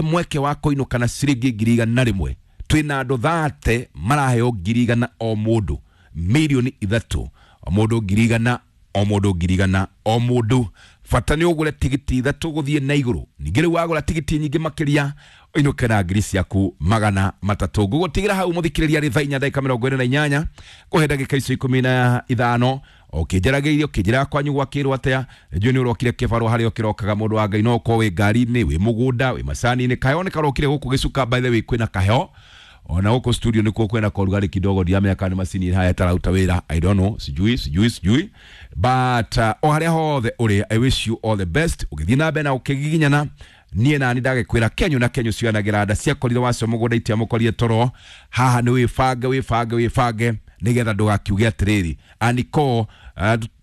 Mweke wa kũinũka na ciringi 100,000. Twĩna andũ 30 maraheo 100,000 o mũndũ, 3 million o mũndũ, 100,000 o mũndũ, 100,000 o mũndũ. Bata nĩ ũgũre tigiti 3 gũthiĩ na igũrũ. Ningĩ rĩu wagũra tigiti nyingĩ makĩria, ũinũke na 300,000. Ngũgũtigĩra hau, mũthikĩrĩria, rĩ thaa 4:28, kũhe ndagĩka icio 15 ũkĩnjaragĩria, ũkĩnjĩraga kwanyu gwakĩrwo atĩa. Njũĩ nĩ ũrokire kĩbarũa harĩa ũkĩrokaga. Mũndũ wa Ngai, no ũkorwo wĩ ngari-inĩ, wĩ mũgũnda, wĩ macani-inĩ. Kaheo nĩ karokire gũkũ gĩcuka. By the way, kwĩna kaheo ona gũkũ studio, nĩkuo kwĩna korugarĩ kidogo. Ndiramenya kana nĩ macini haya ĩtarauta wĩra, I don't know, sijui, sijui, sijui, but o harĩa hothe ũrĩ, I wish you all the best ũgĩthiĩ na mbere na ũkĩgiginyana. Niĩ nani ndagĩkwĩra kenyu na kenyu cionagĩra nda ciakorire wacio mũgũnda itiamũkorire toro. Haha nĩ wĩbange, wĩbange, wĩbange nĩgetha ndũgakiuge atĩrĩrĩ, aniko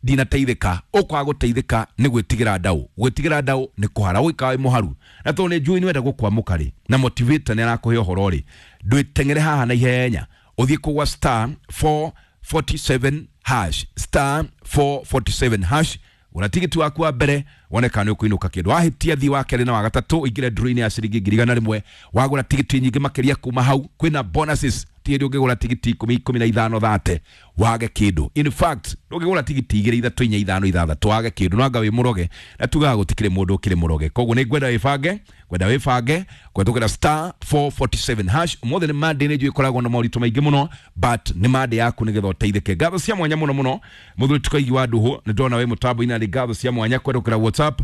ndinateithĩka. Ũkwaga gũteithĩka nĩ gwĩtigĩra ndaũ. Gwĩtigĩra ndaũ nĩ kũhara, ũgĩikara wĩ mũharu. Na tondũ nĩ njũĩ nĩ wenda gũkwamũka rĩ, na motivator nĩ arakũhe ũhoro rĩ, ndwĩteng'ere haha na ihenya, ũthiĩ kũgwa star 447 hash, star 447 hash. Gũra tigiti waku wa mbere, wone kana nĩ ũkũinũka kĩndũ. Wahĩtia, thiĩ wa kerĩ na wa gatatũ, ũingĩre draw-inĩ ya ciringi 100,000. Wagũra tigiti nyingĩ makĩria kuma hau, kwĩna bonuses. Ti hĩndĩ ũngĩgũra tigiti 10, 15, 30 wage kĩndũ. In fact, ndũngĩgũra tigiti 2, 3, 4, 5, 6 wage kĩndũ, no anga wĩ mũroge, na tugaga gũtikĩrĩ mũndũ ũkĩrĩ mũroge. Koguo nĩ ngwenda wĩbange, ngwenda wĩbange kũhetũkĩra star 447 hash. Ũmũthĩ nĩ Monday, nĩ njũĩ ĩkoragwo na moritũ maingĩ mũno, but nĩ Monday yaku nĩgetha ũteithĩke. Ngatho cia mwanya mũno mũno, mũthuri Tukaigi wa Nduhu, nĩ ndona wĩ mũtambo-inĩ. Arĩ ngatho cia mwanya kũhetũkĩra WhatsApp.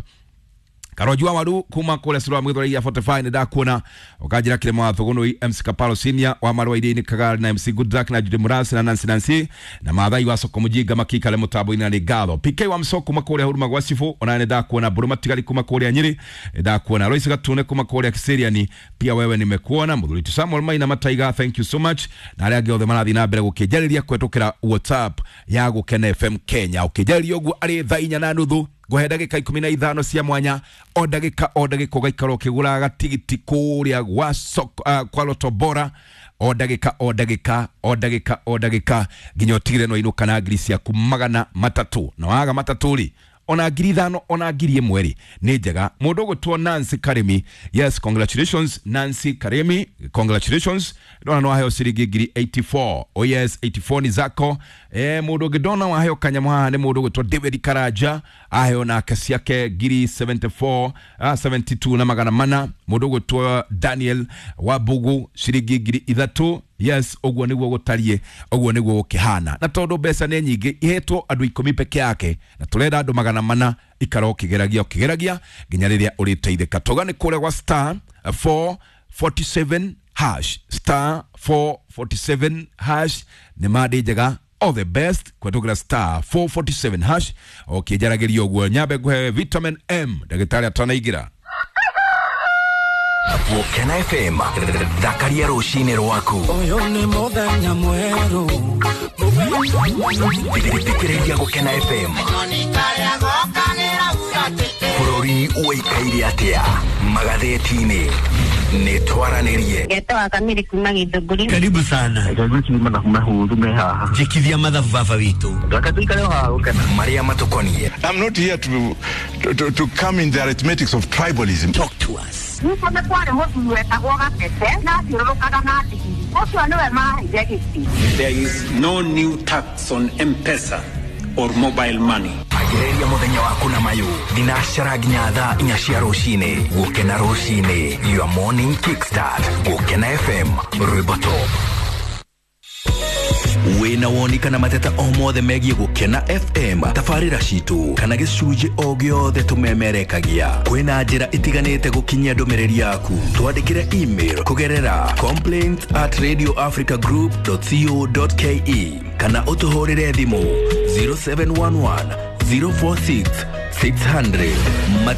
Karonji wa waru kuma kũrĩa Sura Mwithora 45, nĩ ndakuona ũkanjĩra kĩrĩma wa Thũgũnũi, MC Kaparo Senior wa Marũa Iria-inĩ Kagari, na MC Goodluck na Judy Murasi na Nancy Nancy na Maathai wa Soko Mũjinga makĩikare mũtambo-inĩ, na nĩ ngatho. PK wa Msoko kuma kũrĩa Huruma gwa Cibũ, ona nĩ ndakuona. Mbũrũ Matigari kuma kũrĩa Nyĩrĩ, nĩ ndakuona. Lois Gatune kuma kũrĩa Kiseriani, pia wewe nimekuona. Mũthuri Samuel Maina Mataiga, thank you so much, na arĩa angĩ othe marathiĩ na mbere gũkĩnjarĩria kũhetũkĩra WhatsApp ya Gũkena FM Kenya. Ũkĩnjarĩria ũguo arĩ thaa 4:30, ngũhe ndagĩka 15 cia mwanya. O ndagĩka o ndagĩka ũgaikara ũkĩgũraga gatigiti kũrĩa gwa soko, kwa Loto Bora, o ndagĩka o ndagĩka o ndagĩka o ndagĩka, nginya ũtigĩre no inũka na 300,000. Na waga 300 rĩ, ona 5,000, ona 1,000 rĩ, nĩ njega. Mũndũ ũgũtwo Nancy Karimi, yes, congratulations Nancy Karimi, congratulations. Ndona no waheo ciringi 84,000. Oh yes, 84 ni zako. Mũndũ ũngĩ ndona waheo kanyamũ haha nĩ mũndũ ũgwĩtwo David Karanja, aheo nake ciake 74,000, 72,400. Mũndũ ũgwĩtwo Daniel Wabugu, ciringi 3,000. Yes, ũguo nĩguo gũtariĩ, ũguo nĩguo gũkĩhana. Na tondũ mbeca nĩ nyingĩ, ihetwo andũ 10 peke yake, na tũrenda andũ 400. Ikara ũkĩgeragia, ũkĩgeragia nginya rĩrĩa ũrĩteithĩka. Toga nĩ kũrĩa gwa star 447 hash, star 447 hash. Nĩ Monday njega, all the best kũhetũkĩra star 447 hash. Ũkĩnjaragĩria ũguo, nyambe ngũhe vitamin M ndagĩtarĩ atanaingĩra. Gũkena FM, thakaria rũcinĩ rwaku. Ũyũ nĩ mũthenya mwerũ. Thikĩrĩria Gũkena FM. Bũrũri ũikaire atĩa magathĩti-inĩ? Nĩ twaranĩrie. Ngetawa Kamiri kuma Githũngũri. Karibu sana. Reke mathabu mahũthũ me haha. Njĩkithia mathabu, baba witũ. Reke tũikare o haha gũkena. Marĩa matũkoniĩ. I'm not here to come in the arithmetics of tribalism. Talk to us. Gwitũ nĩ kwarĩ mũthuri wetagwo Gatete na athiũrũrũkaga na ndigiri. Ũcio nĩwe maheire gĩtĩ. There is no new tax on M-Pesa or mobile money. Ambĩrĩria mũthenya waku na mayũ thinacara nginya thaa 4 cia rũcinĩ. Gũkena rũcinĩ, your morning kickstart. Gũkena FM, rwĩmbo top. Wĩna woni kana mateta o mothe megiĩ Gũkena FM, tabarĩra citũ kana gĩcunjĩ o gĩothe tũmemerekagia, kwĩna njĩra itiganĩte gũkinyia ndũmĩrĩri yaku. Twandĩkĩre email kũgerera complaints@radioafricagroup.co.ke kana ũtũhũrĩre thimũ 0711 046 600.